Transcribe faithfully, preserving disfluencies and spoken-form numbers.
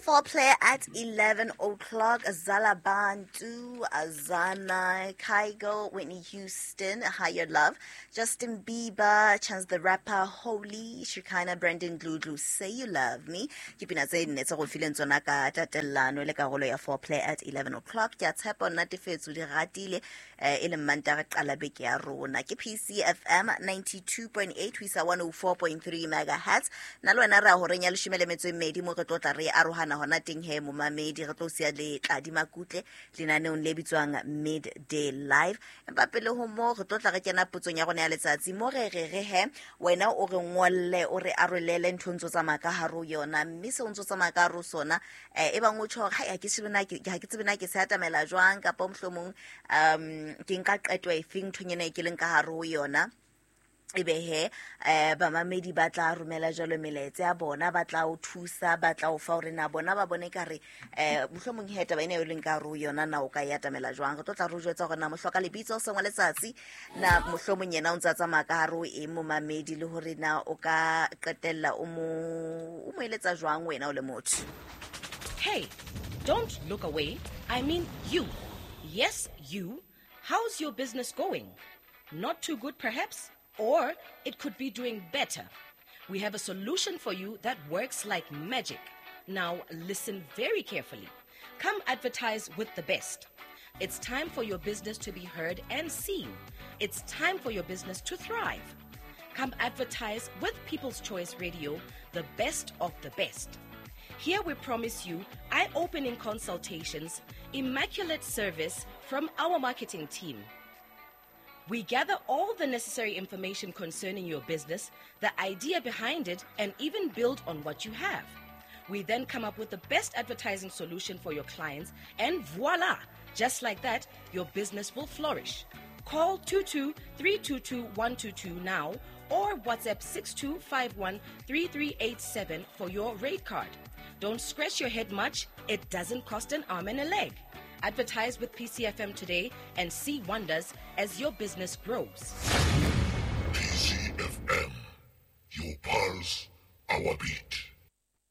Foreplay at eleven o'clock. Zalabantu, Azana, Kygo, Whitney Houston, Higher Love, Justin Bieber, Chance the Rapper, Holy, Shekinah, Brandon Dludlu, Say You Love Me. Ke pina tse nne tse go fileng tsona ka tatellano le karolo ya Foreplay at eleven o'clock. Ke a tshepa o natefetswe, di ratile, eh, e leng Mantaha re qala beke ya rona. Ke P C F M ninety-two point eight ho isa one oh four point three megahertz. Nna le wena re ya horeng ya leshome le metso e mmedi mo re tlo tla re arohana hona teng he momamedi, re tlo siya le Tladi Makutle lenaneong le bitswang Midday Live. Empa pele ho moo re tlo tla re kena potsong ya rona ya letsatsi mo re re re he wena o re ngolle, o re arolele ntho ntso tsamaya ka hare ho yona, mme seo ntso tsamaya ka hare ho sona, eh, e bang o tjho hore, hai, ha ke tsebe na ke, ha ke tsebe na ke se atamela jwang, kapa mohlomong, um, ke nka qeto efeng nthong ena e ke leng ka hare ho yona. Ebe he, eh, bamamedi ba tla romela jwalo melaetsa ya bona, ba tla o thusa, ba tla o fa hore na bona ba bone ka re, eh, mohlomong he taba ena eo leng ka hare ho yona na o ka e atamela jwang. Re tlo tla re o jwetsa hore na mohloka lebitso sengwe letsatsi, na mohlomong yena o ntse a tsamaya ka hare ho eng momamedi, le hore na o ka qetella o mo, o mo eletsa jwang wena o le motho. Hey, don't look away. I mean you. Yes, you. How's your business going? Not too good, perhaps? Or it could be doing better. We have a solution for you that works like magic. Now listen very carefully. Come advertise with the best. It's time for your business to be heard and seen. It's time for your business to thrive. Come advertise with People's Choice Radio, the best of the best. Here we promise you eye-opening consultations, immaculate service from our marketing team. We gather all the necessary information concerning your business, the idea behind it, and even build on what you have. We then come up with the best advertising solution for your clients, and voila! Just like that, your business will flourish. Call two two three two two one two two now or WhatsApp six two five one three three eight seven for your rate card. Don't scratch your head much. It doesn't cost an arm and a leg. Advertise with P C F M today and see wonders as your business grows. P C F M, your pulse, our beat.